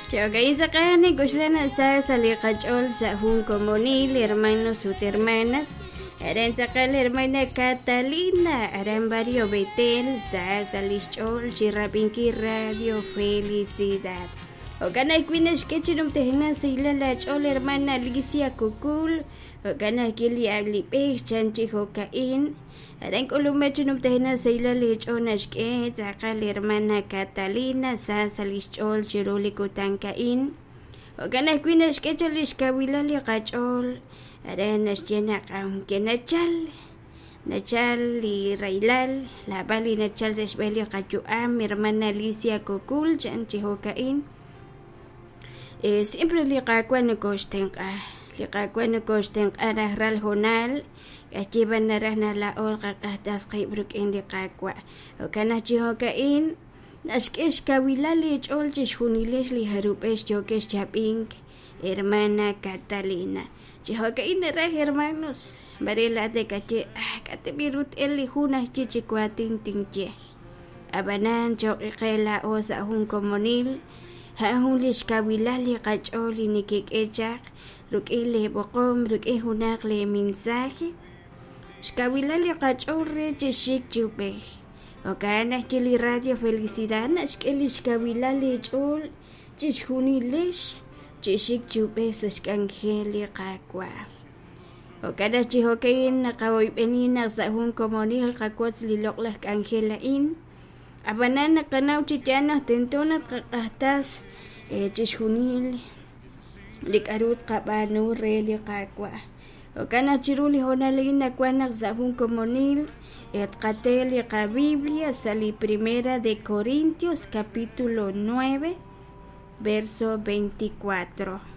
Jo'ka'in tz'aqal nik'oxla naq sa sa' li qach'ool sa' jun komonil hermanos ut hermanas. Aran tz'aqal hermana Catalina, aran Barrio Betel, sa sa' li xch'ool chi rab'inkil Radio Felicidad. Jo'kan ajwi' naxk'e chi numtajenaq sahilal aach'ool hermana Alicia Cucul, jo'kan ajwi' li alib'ej chan chi jo'ka'in. Aran k'ulumej chi numtajenaq sahilal eech'ool naxk'e tz'aqal hermana Catalina sa sa' li xch'ool chiru li kutan a'in. Jo'kan ajwi' naxk'e chaq li xkawilal li qach'ool aran naxye naq aunque nachal nachal li rahilal naab'al li nachal sa' xb'een li qayu'am hermana Alicia Cocul chan chi jo'ka'in. Siempre li Qaawa' nokoxtenq'a, li Qaawa' nokoxtenq'a rajlal hoonal. K'axye b'an naraj naq laa'o tqaq'axtas qib' rik'in li Qaawa'. Jo'kan naq chi jo'ka'in naxk'e xkawilal eech'ool chixjunilex li jarub'ex yookex chi ab'ink, hermana Catalina. Chi jo'ka'in naraj, hermanos, maare laa'at nakaye, Ah, k'a' ta b'i' ru t-elq li hu naxye chi waatin tinye. Ab'anan cho'q qe laa'o sa' jun komonil, a'an jun li xkawilal li qach'ool li nekek'e chaq rik'in lee b'oqom, rik'in junaq lee mensaje. Xkawilal li qach'ool re chi xik chi ub'ej. Jo'kan naq li Radio Felicidad naxk'e li xkawilal eech'ool chixjunilex chi xik chi ub'ej sa' xk'anjel li Qaawa'. Jo'kan naq chi jo'ka'in naqawoyb'eni naq sa' jun komonil qawotz li loq'laj k'anjel a'in. Ab'anan naqanaw chi yaal naq tento naq tqaq'axtas chixjunil li k'aru tqab'aanu re li Qaawa'. Jo'kan naq chiru li hoonal a'in nawank naq sa' jun komonil tqate li qaBiblia sa' li Primera de Corintios capítulo 9 verso 24.